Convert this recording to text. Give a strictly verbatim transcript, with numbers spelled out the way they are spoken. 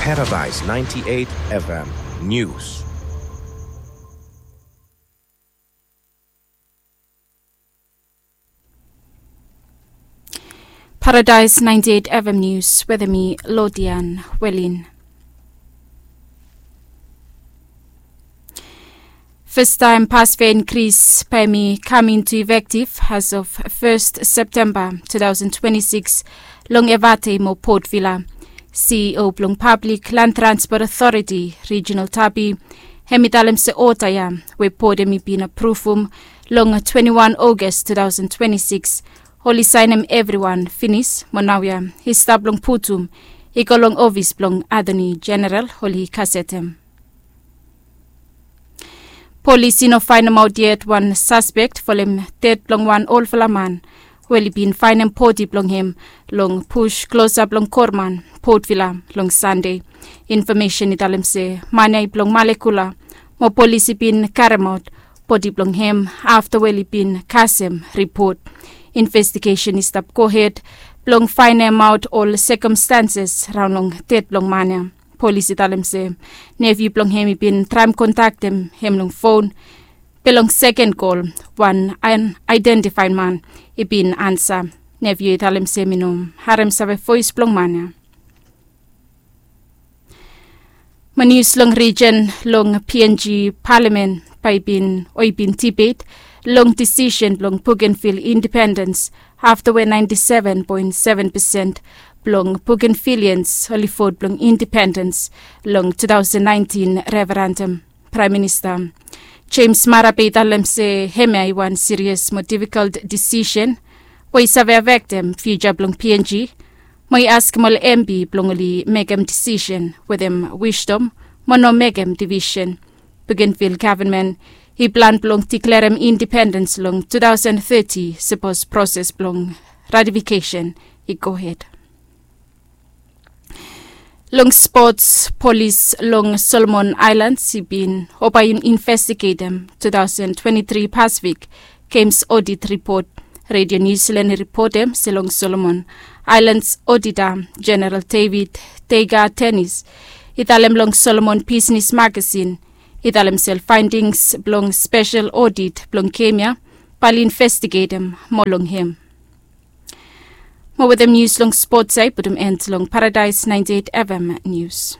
Paradise ninety-eight F M News. Paradise ninety-eight F M News, wetem mi Lodian Welin. Fastaem pas fea inkris bae hemi kam into effective as of first September two thousand twenty-six long Evate mo Port Vila. C E O blong Public Land Transport Authority Regional Tapi, hemi talem se ota ya we bot hemi bin apruvum long twenty-one August two thousand twenty-six, oli saenem evriwan finis, mo naoia i stap long putum i go long ofis blong Attorney General oli kasetem. Polis i no faenemaot yet wan saspek folem ded blong wan olfala man we oli bin faenem bodi blong hem long bus klosap long Korman, Port Vila, long Sande. Infomesen i talem se man ya i blong Malekula, mo polis i bin karemaot bodi blong hem afta we oli bin kasem ripot. Investigesen i stap gohed blong faenemaot ol sekomstanses raon long ded blong man ya. Polis i talem se nefiu blong hem i bin traem kontaktem hem long fon, be long seken kol wan an-, aedentifaed man i bin ansa. Nefiu i talem se hemi no haremsave voes blong man ya. Mo nius long rijen, long P N G palamen bae i bin, o i bin dibet long disisen blong Bougainville indipendens afta we ninety-seven point seven percent blong Bougainvilleans oli vot blong indipendens long two thousand nineteen referendum. Praem Minista James Marape i talem se hemia i wan sirias mo difikol disisen we i save afektem fiuja blong P N G, mo i askem ol M P blong oli mekem disisen wetem wisdom mo no mekem divisen. Bougainville gavman i plan blong diklerem indipendens long two thousand thirty, sapos proses blong ratifikesen i gohed. Long spots, polis long Solomon Aelans i bin, o bae i investigetem two thousand twenty-three Pacific Games odit ripot. Radio New Zealand i ripotem se long Solomon Aelans, Odita Jeneral David Tega Tenis i talem long Solomon Bisnes Magasin, i talem se ol faendings blong spesel odit blong gem ya bae oli investigetem moa long hem. Mo wetem nius long spots ya i putum en long Paradise ninety-eight F M News.